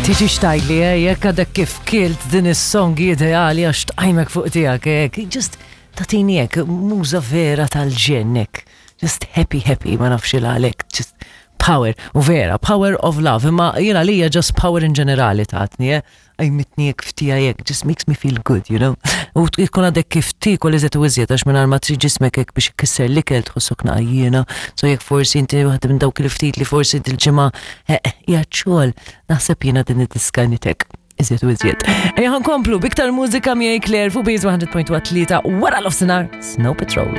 Tiġi xtajli, eh, jekk għadek kif kilt din is-song ideali għax tqajmek fuq tiegħek, eh, just tatini hekk muża vera tal-ġennek. Just happy happy, ma nafx il għalek, just power, u vera, power of love, imma jiena lija just power in ġenerali tatni, eh. Għajmitni jek ftija jek, just makes me feel good, you know. U jkun għadek kif tiekol iżjed u iżjed għax minn ma trid ġismek hekk biex ikisser l-ikel tħossok naqajjiena. So jekk forsi inti waħda minn dawk il-ftit li forsi dil-ġimgħa eh, eh, qiegħed xogħol, naħseb jiena din id-diska nitek iżjed u iżjed. Ejja ħankomplu biktar mużika miegħi Claire fuq Biz 100.3 wara l-ofsinhar Snow Patrol.